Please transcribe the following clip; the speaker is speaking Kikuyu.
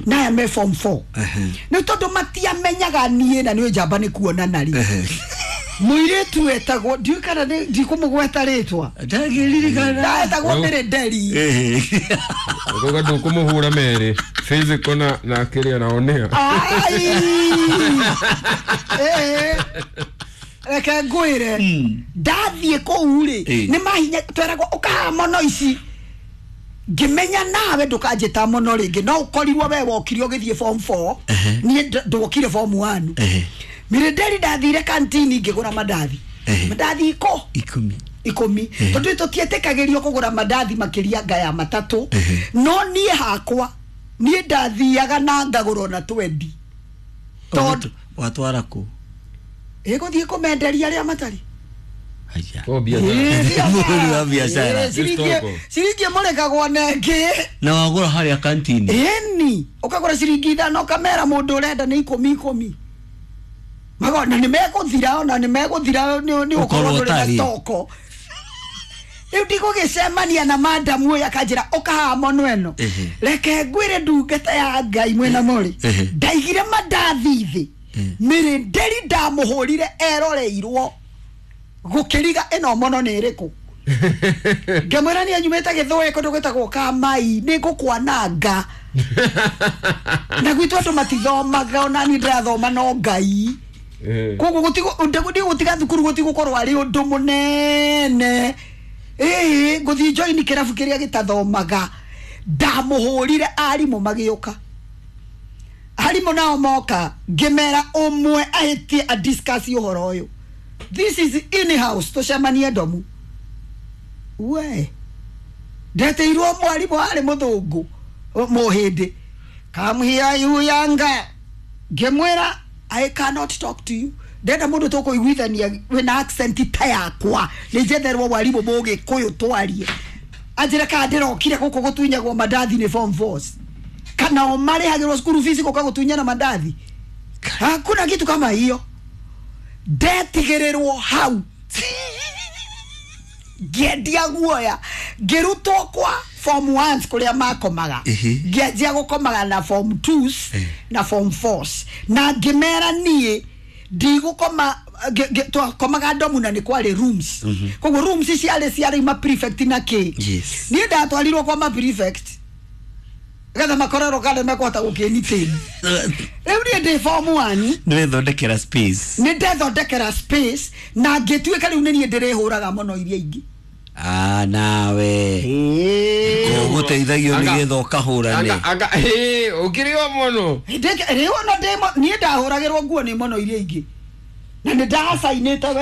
Na aya me form 4. Nĩ tondũ matiamenyaga niĩ na nĩ njamba nĩ kuonana rĩ. Mũirĩtu wetagwo, ndiũĩ kana ndikũmũgweta rĩtwa. Ndagĩririkana. Etagwo Mĩrĩnderi. Ukoga ndũkũmũhũra merĩ physical na kĩrĩa na onea. Ai! Eh. Reke ngwĩre, ndathiĩ kũu rĩ, nĩ mahinya tweragwo ũkaha mono ici. Ngĩmenya nawe ndũkanjĩta mono rĩngĩ, no ũkorirwo we wokire ũgĩthiĩ form 4, niĩ ndokire form 1. Mĩrĩnderi, ndathire kantini ngĩgũra mandathi. Mandathi iko 10. 10, tondũ tũtietĩkagĩrio kũgũra mandathi makĩria nga ya matatũ. No niĩ hakwa, niĩ ndathiaga na ngagũra ona 20, tondũ Watwara kũ? Ĩgũthiĩ kũmenderia arĩa matarĩ. Haya. Oh, biacara. Mũhũri wa biacara. Ĩ, ciringi Stoko. ciringi ĩmũrĩkagwo na ĩngĩ. Na wagũra harĩa kantini? Ĩni, ũkagũra ciringi 5, ũkamera mũndũ ũrenda nĩ 10 10. Magona nĩ megũthira, ona nĩ megũthira nĩ ũkorwo Ũkorwo ndũrĩ na ũtarĩ. stoko. Rĩu ndigũgĩcemania na madamu ũyũ, akanjĩra ũkahaha mono ĩno. Reke ngwĩre, ndungata ya Ngai mwĩna mũrĩ, ndaigire mandathi thĩ, Mĩrĩnderi ndamũhũrire eroreirwo gũkĩriga ĩno mono nĩ ĩrĩkũ. Ngĩmwĩra niĩ nyumĩte Gĩthũĩ, kũndũ gwĩtagwo Kamai, nĩ ngũkwananga, na gwitũ andũ matithomaga, ona niĩ ndĩrathoma no Ngai. Koguo gũtiga thukuru gũtigũkorwo arĩ ũndũ mũnene. Ĩĩ, ngũthiĩ join kĩrabu kĩrĩa gĩtathomaga. Ndamũhũrire, arimũ magĩũka. Arimũ nao moka, ngĩmera ũmwe ahĩtie a discuss ũhoro ũyũ, this is in house, tũcemanie ndomu. We ndeteirwo mwarimũ arĩ mũthũngũ mũhĩndĩ, "Come here, you younger." Ngĩmwĩra, "I cannot talk to you, ndenda mũndũ tũkũiguithania wĩna accent ta yakwa, nĩ njetherwo mwarimũ mũgĩkũyũ twarie." Anjĩre kana ndĩrokire gũkũ gũtunyagwo mandathi nĩ form fours, kana o marĩhagĩrwo school fees gũka gũtunyana mandathi? Hakuna kitu kama hiyo. Ndetigĩrĩrwo hau, ngĩendia guoya, ngĩrutwo kwa form ones kũrĩa makomaga. Ngĩanjia gũkomaga na form twos na form fours, na ngĩmera niĩ ndigũkoma. Twakomaga ndomu na nĩ kwarĩ rooms, koguo rooms ciarĩ ma prefect na kĩ. Niĩ ndatwarirwo kwa ma prefect getha makorerwo kana mekũhota gũkĩnitĩni. Rĩu niĩ ndĩ form one. Nĩ wethondekera space. Nĩ ndethondekera space na ngĩtuĩka rĩu nĩ niĩ ndĩrĩhũraga mũno iria ingĩ. Ah, nawe ũgũteithagio nĩgetha ũkahũrane. Anga ĩ ũkĩrĩ o mũno. Rĩu ona niĩ ndahũragĩrwo nguo nĩ mũno iria ingĩ na nĩ ndacainĩte.